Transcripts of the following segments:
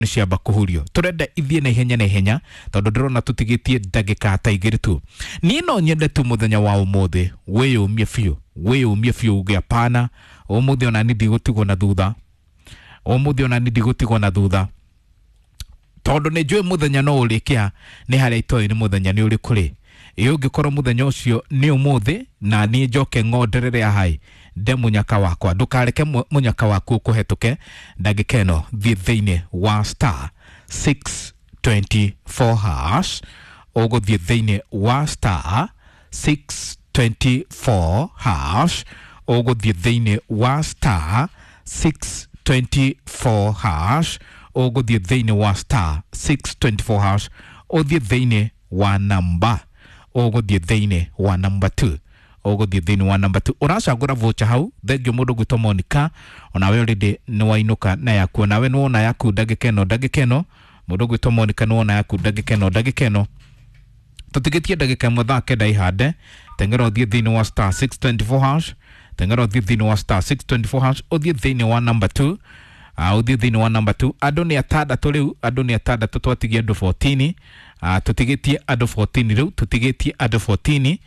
Nĩ ciamba kũhurio, tũrenda ithiĩ na ihenya na ihenya tondũ ndĩrona tũtigĩtie ndagĩka ta 2 tu. Niĩ no nyende tu mũthenya wa ũmũthĩ wĩyũmie biũ, wĩyũmie biũ uge hapana, ũmũthĩ ona niĩ ndigũtigwo na thutha, ũmũthĩ ona niĩ ndigũtigwo na thutha, tondũ nĩ njũĩ mũthenya no ũrĩkĩa nĩ harĩa itoĩ nĩ mũthenya nĩ ũrĩkũ rĩ. Ĩ ũngĩkorwo mũthenya ũcio nĩ ũmũthĩ na niĩ njoke ng'onderere ahai nde mũnyaka wakwa, ndũkareke mũnyaka waku ũkũhetũke. Ndagĩka ĩno thiĩ thĩinĩ wa star 624 hash, ũgũthiĩ thĩinĩ wa star 624 hash, ũgũthiĩ thĩinĩ wa star 624 hash, ũgũthiĩ thĩinĩ wa star 624 hash, ũthiĩ thĩinĩ wa namba, ũgũthiĩ thĩinĩ wa namba 2, ũgũthiĩ thĩinĩ wa namba 2, ũracagũra voucher hau. Thengio mũndũ gwĩtwo Monica, onawe already nĩ wainũka na yaku, onawe nĩ wona yaku ndagĩka ĩno, ndagĩka ĩno mũndũ gwĩtwo Monica nĩ wona yaku ndagĩka ĩno, ndagĩka ĩno tũtigĩtie ndagĩka 1 thaa 9 ihande. Teng'era ũthiĩ thĩinĩ wa star 624 hash, teng'era ũthiĩ thĩinĩ wa star 624 hash, ũthiĩ thĩinĩ wa namba 2, ũthiĩ thĩinĩ wa namba 2. Andũ nĩ atandatũ rĩu, andũ nĩ atandatũ, twatigie andũ 14, tũtigĩtie andũ 14 rĩu, tũtigĩtie andũ 14.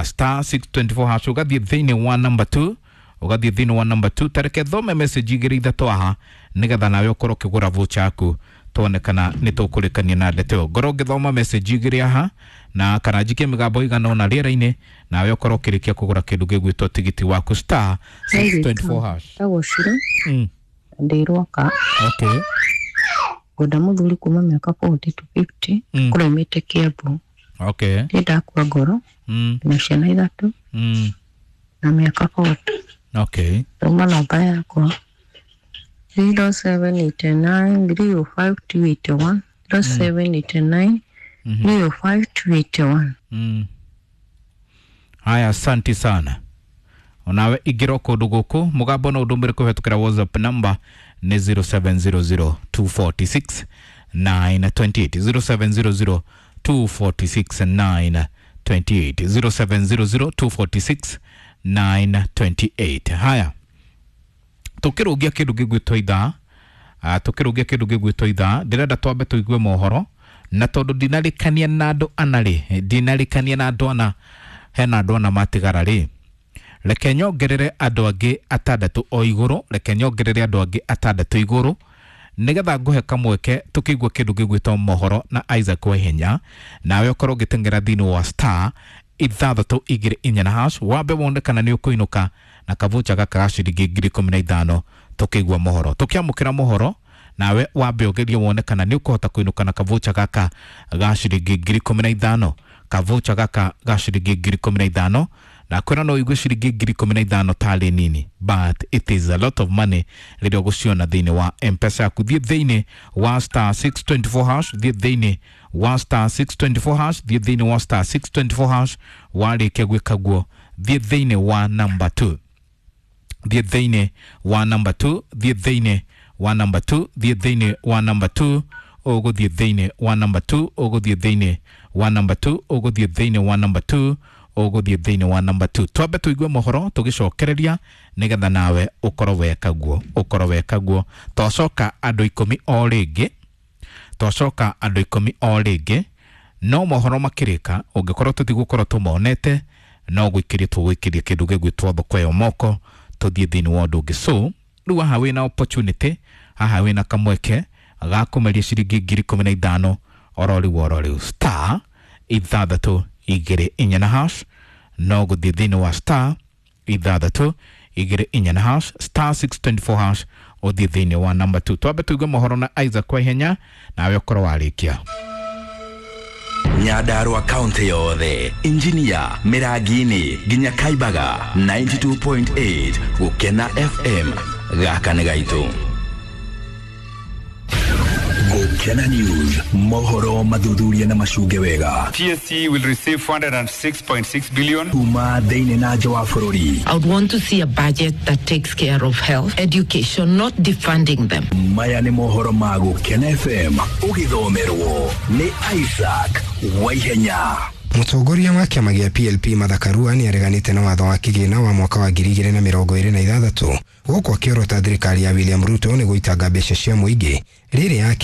Star 624 hash, ũgathiĩ thĩinĩ wa namba 2, ũgathiĩ thĩinĩ wa namba 2. Tareke thome message 2 3 aha nĩgetha nawe ũkorwo ũkĩgũra voucher yaku, tuone kana nĩ tũkũrĩkania na ndeto ĩyo. Ngorwo ngĩthoma message 2 aha na kana njikie mĩgambo igana ũna rĩera-inĩ, nawe ũkorwo ũkĩrĩkia kũgũra kĩndũ gĩgwĩtwo tigiti waku star 624 hash. Ndagwo Shiro ndĩ Rwaka. Ngwenda mũthuri kuma mĩaka 40 to 50, kũraumĩte Kiambu. Ndĩ ndakua ngoro na ciana 3 na mĩaka 40. Thoma namba yakwa 0789 305 281, 0789 305 281. Haya, asante sana. Onawe ingĩra kũndũ gũkũ mũgambo no ũndũmĩre kũhetũkĩra WhatsApp number nĩ 0700 246 928, 0700 246 928, 0700 246 928. Haya, tũkĩrũngia kĩndũ gĩgwĩtwo ithaa, tũkĩrũngia kĩndũ gĩgwĩtwo ithaa, ndĩrenda twambe tũigue mohoro, na tondũ ndinarĩkania na andũ ana rĩ, ndinarĩkania na andũ ana, hena andũ ana matigara rĩ, reke nyongerere andũ angĩ atandatũ o igũrũ, reke nyongerere andũ angĩ atandatũ igũrũ nĩgetha ngũhe kamweke tũkĩigua kĩndũ gĩgwĩtwo mohoro na Isaac Waihenya, nawe ũkorwo ũgĩteng'era thĩinĩ wa star 624 na hash, wambe wone kana nĩ ũkũinũka na kavucha gaka ga ciringi 15,000. Tũkĩigua mohoro, tũkĩamũkĩra mohoro, nawe wambe ũgerie wone kana nĩ ũkũhota kũinũka na kavucha gaka ga ciringi 15,000, kavucha gaka ga ciringi 15,000. Na kwĩra no ũigue ciringi 15,000 tarĩ nini, but it is a lot of money rĩrĩa ũgũciona thĩinĩ wa M-Pesa yaku. Thiĩ thĩinĩ wa star 624 hash, thiĩ thĩinĩ wa star 624 hash, thiĩ thĩinĩ wa star 624 hash. Warĩkia gwĩka guo, thiĩ thĩinĩ wa namba 2, thiĩ thĩinĩ wa namba 2, thiĩ thĩinĩ wa namba 2, thiĩ thĩinĩ wa namba 2, ũgũthiĩ thĩinĩ wa namba 2, ũgũthiĩ thĩinĩ wa namba 2, ũgũthiĩ thĩinĩ wa namba 2, ũgũthiĩ thĩinĩ wa namba 2. Twambe tũigue mohoro tũgĩcokereria nĩgetha nawe ũkorwo weka guo, ũkorwo weka guo. Twacoka andũ 10 o rĩngĩ, twacoka andũ 10 o rĩngĩ, no mohoro makĩrĩka ũngĩkorwo tũtigũkorwo tũmonete, no gwĩkĩria tũgwĩkĩria kĩndũ gĩgwĩtwo thoko ĩyo moko, tũthiĩ thĩinĩ wa ũndũ ũngĩ. So rĩu haha wĩna opportunity, haha wĩna kamweke ga kũmeria ciringi 15,000 oro rĩu oro rĩu, star 624 na hash, no gũthiĩ thĩinĩ wa star 624 na hash, star 624 hash, ũthiĩ thĩinĩ wa namba 2. Twambe tũigue mohoro na Isaac Waihenya, nawe ũkorwo warĩkia. Nyandarua kaunti yothe, Injinia, Mĩrangi-inĩ nginya Kaibaga, 92.8 Gũkena FM, gaka nĩ gaitũ. Gũkena News, mohoro mathuthuria na macunge wega. TSC will receive 406.6 billion. Kuma thĩinĩ na nja wa bũrũri. I would want to see a budget that takes care of health, education, not defunding them. Maya nĩ mohoro ma Gũkena FM, ũgĩthomerwo nĩ Isaac Waihenya. Mũtongoria wa kĩama gĩa PLP Martha Karua nĩ areganĩte na watho wa kĩgĩna wa mwaka wa 2026, gũkũ akĩorota thirikari ya William Ruto nĩ gũitanga mbeca cia mũingĩ Rĩrĩ ya Kenya.